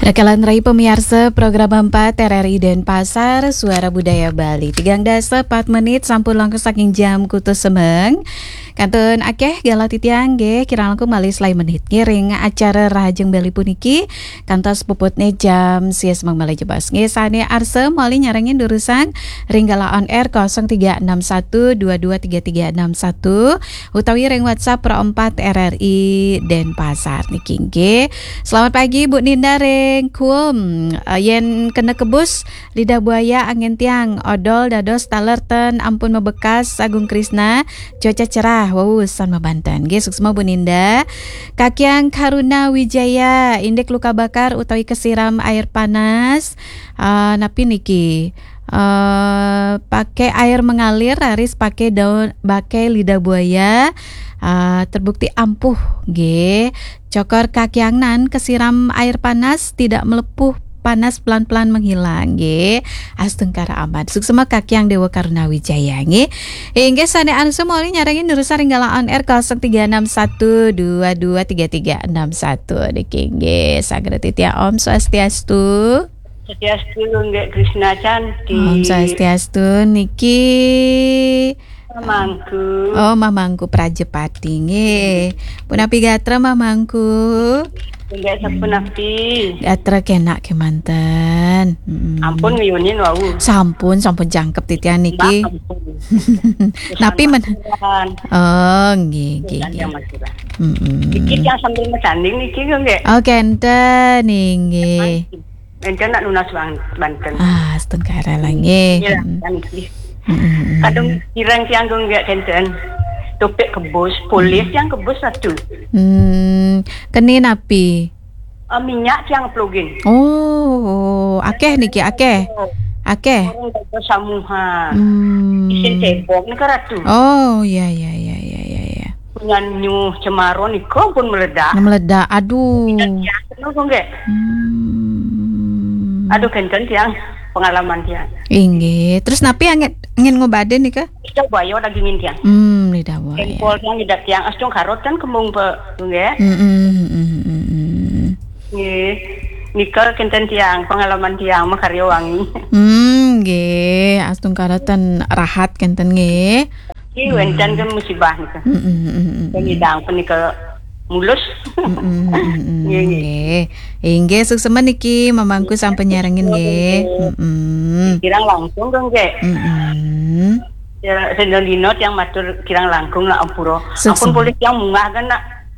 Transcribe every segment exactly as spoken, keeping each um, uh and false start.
Rakalan rai pamiarsa program empat R R I Denpasar, Suara Budaya Bali. Tigang dasa pat menit sampun langkung saking jam kutus semeng. Kantun akeh galah titiang nggih, kirang langkung malih selae menit nggih ring acara Rahajeng Bali puniki, kantos puputne jam sia semeng malih jebos. Nggih, sane arsa malih nyarengin durusang ring galah on air kosong tiga enam satu dua dua tiga tiga enam satu utawi ring WhatsApp Pro empat R R I Denpasar niki nggih. Selamat pagi Bu Ninda ring Kuem. Eh, yen kena kebus lidah buaya angin tiang, odol dados taler ten ampun mebekas, Agung Krisna, cuaca cerah, wau san mabanten. Nggih, suksma Bu Ninda. Kakiang Karuna Wijaya, indik luka bakar utawi kesiram air panas. Eh, napi niki? Eh, pakai air mengalir, raris pakai daun, pakai lidah buaya, eh, terbukti ampuh, nggih. Cokor kakiang nan kesiram air panas, tidak melepuh, panas pelan-pelan menghilang, nggih. Astungkara aman. Suksma kakiang Dewa Karuna Wijaya, nggih. Inggih sane arsa malih nyarengin durusang ring galah on air kosong tiga enam satu dua dua tiga tiga enam satu niki, nggih. Saged titiang Om Swastiastu. Swastiastu, nggih, Krisna Cantik. Om Swastiastu niki. Mamangku. Oh, Mamangku Prajapati nggih. Punapi gatra Mamangku? Nggih, sapunapi. Gatra kenak kemanten. Mm-mm. Ampun miyunin wau. Sampun, sampun jangkep titiang niki. Mbak, ampun. Napi men- Sampun. Oh, nggih, nggih, Bukan nggih. Yang Madura. Mm-mm. Niki yang sambil mesanding niki, nggih. Oh, kenten, nggih. Enten nak nunas bang-, banten. Ah, astungkara lah nggih. Iya, mm. Kan nggih. Mm, mm, mm. Kadung kirang tiang gung nggih kenten. Topik kebus, polis tiang kebus satu. Hmm, keni napi? Eh, minyak tiang plugin. Oh, akeh niki, akeh. Akeh. Orang kata samuha. Hmm. Isin cebok ni kan ratu. Oh, ya, ya, ya, ya, ya, ya. Punyan nyuh cemaro nika pun meledak. Meledak, aduh. Kita tiang penuh kok nggih. Hmm. Aduh, kenten tiang pengalaman tiang. Inggih. Terus napi angin, angin ngobadin nika? Kita bayo dagingin tiang. Hmm, lidah buaya. Empol tiang ngidat tiang astung karot kan kembung pe, nggih. Hmm, hmm, hmm, hmm, hmm, hmm. Nggih. Nika kenten tiang pengalaman tiang makarya wangi. Hmm, nggih. Astungkara ten rahat kenten nggih. Ki wenten kan musibah nika. Mm, mm, mm, mm, mm. Pengidang punika mulus. Mm, mm, mm, mm, mm. Nggih, nggih. Nggih. Inggih, suksma niki Mamangku sampun nyarengin nggih. Mm, mm. Kirang langkung dong, nggih. Mm, mm. Ya, sedina tiang matur kirang langkung nak ampura. Suksma. Ampun polih tiang munggah kan nak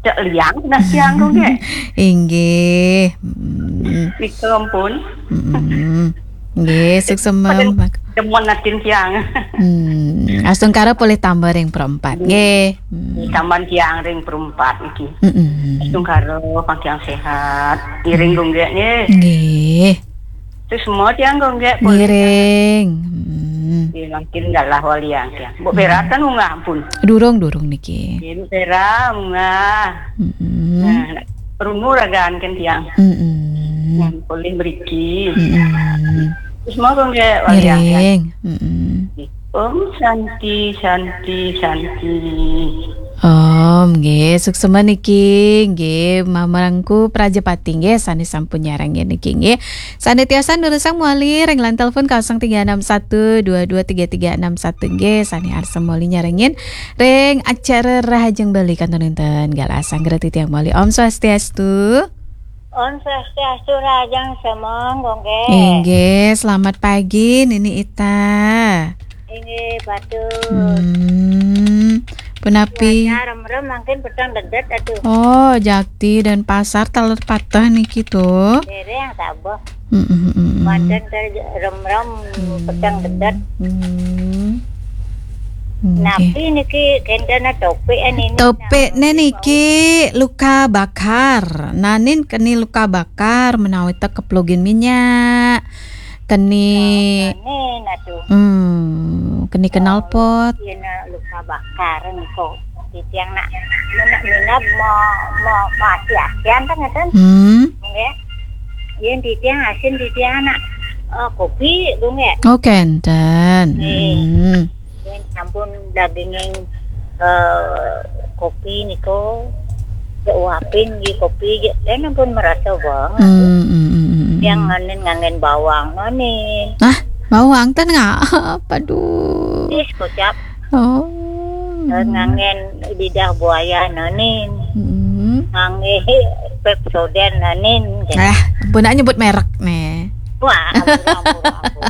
cek liang nah tiang dong, nggih. Inggih. Mm. Nika ampun. Mm, mm. Nggih, suksma. Pada demen atin tiang. Hmm, astungkara polih tambah ring Pro empat. Nggih. Hmm. Tambah tiang ring Pro empat niki. Mm-mm. Astungkara pang tiang sehat. Ngiring gung nggih nggih. Nggih. Terus semua tiang gung nggih polih. Ngiring. Hmm. Nggih, mangkin galah waliang tiang. Mbok Vera ten munggah ampun. Durung, durung niki. Nggih, Mbok Vera munggah. Mm-mm. Nah, nak perungu ragaan kan tiang. Mm-mm. Nah, polih mriki. Mm-mm. Terus mau kok nggih waliang tiang. Ngiring. Mm-mm. Om Santi, Santi, Santi. Om, nggih, suksma niki, nggih, Mamangku Prajapati, nggih, sane sampun nyarengin niki, nggih. Sane tiosan durusang malih ring line telepon kosong tiga enam satu dua dua tiga tiga enam satu, nggih, sane arsa malih nyarengin ring acara Rahajeng Bali kantun wenten galah sanggra titiang malih. Om Swastiastu. Om Swastiastu, Rahajeng Semeng, Gongge. Inggih, selamat pagi, Nini Ita. Inggih, batur. Hmm, punapi? Cuaca remrem, mangkin peteng dedet, aduh. Oh, jakti Denpasar taler pateh niki to. Dereng tabeh. Mm, mm, mm, mm. Manten ter remrem, hmm, peteng dedet. Hmm. Nggih. Napi niki kenten topik niki? Topikne niki luka bakar. Nanin keni luka bakar menawi te keplugin minyak. Keni. Oh, keni nah tu. Hmm, keni knalpot. Oh, yen luka bakar niko. Titiang nak minab, minab mau, mau, mau ati-atian ta ngeten. Hmm. Nggih. Yen titiang asin titiang nak, eh, kopi, Bu, nggih. Oh, kenten. Nggih. Hmm. Yen sampun daginging, eh, kopi niko, Uapin di kopi je, dan ampun merasa banget. Hmm, hmm, hmm, hmm, hmm. Yang nganin ngangen bawang nonin. Ah, bawang ten nggak? Aduh. Is kocap. Oh. Dan ngangen lidah buaya nonin. Hmm. Ngangen Pepsodent nonin. Eh, ampun, nak nyebut merek nih. Wah, ampun, ampun, ampun.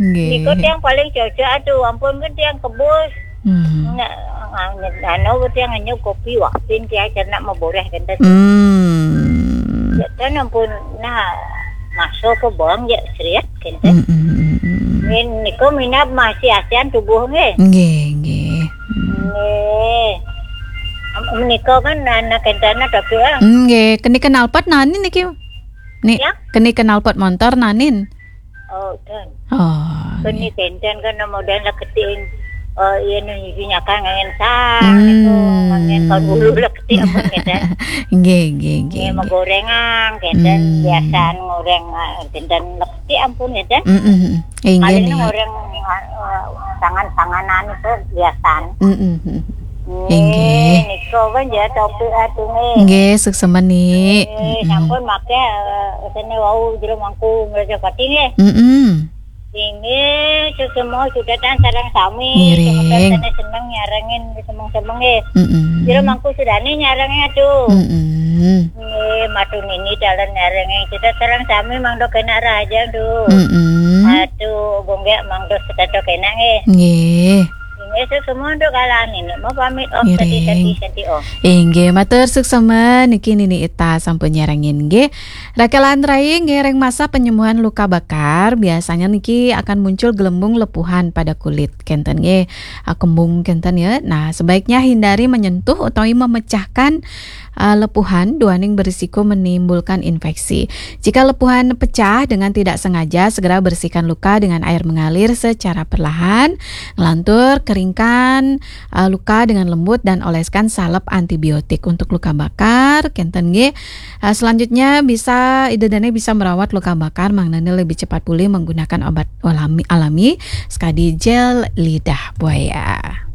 Nggih. Niko tiang paling cocok, aduh, ampun, kan tiang kebus. Hmm. Nah, anu, tiang ngenyup kopi, waktin tiang cernak maboreh kenten. Hmm. Ya, kan ampun, nah, masuk ke bawang ya, seriat kenten. Hmm, hmm, hmm, hmm. Min, niko minab masih asian tubuh nggih. Nggih, nggih. Hmm. Nggih. Am-, menika kan anak kenten tapi, ah. Nggih, keni kenalpot nani niki? Ni, ya? Keni kenalpot montor nanin? Oh, dan. Oh, keni nggih. Kenten kan model leketing, eh, iya nu nyuci nyakan ngangen sang, hmm, itu, ngangen kaun bulu leketing ampun kenten. Nggih, nggih, nggih, nggih, nggih. Magorengan kenten, hmm, biasaan ngoreng, eh, kenten leketing ampun kenten. Mm, mm, mm. Inggih. Paling nih. Ngoreng, eh, tangan-tanganan itu biasaan. Mm, mm, mm. Nggih, inggih. Niko kan ya topik atuh nggih. Nggih, suksema nih. Nggih, mm, mm, sampun make, eh, sene wau jero mangku ngraja pati nggih. Mm, mm. Inggih, suksema sudetan sareng sami. Ngiring. Sumeton sene seneng nyarengin semeng-semeng nggih. Mm, mm. Jero mangku sudane nyarengin atuh. Mm, mm. Nggih, matur nini dalan nyarengin. Kita sareng sami mangdo kena raja, duh. Mm, mm. Atuh, bonggek mangdo seteto kena nggih. Nggih. Nggih, suksema untuk kalangan ini. Mau pamit, oh, ngiring. Tadi, tadi, tadi, oh. Inggih, matur suksema niki Nini Ita sampun nyarengin nggih. Rakelan rai nggih, ring masa penyembuhan luka bakar, biasanya niki akan muncul gelembung lepuhan pada kulit kenten nggih. Ah, kembung kenten ya. Nah, sebaiknya hindari menyentuh utawi memecahkan, ah, lepuhan, duaning berisiko menimbulkan infeksi. Jika lepuhan pecah dengan tidak sengaja, segera bersihkan luka dengan air mengalir secara perlahan. Nglantur, keringkan, eh, luka dengan lembut dan oleskan salep antibiotik untuk luka bakar. Kenten nggih. Eh, selanjutnya bisa, ida dane bisa merawat luka bakar, mangdane lebih cepat pulih menggunakan obat alami, alami, sekadi gel lidah buaya.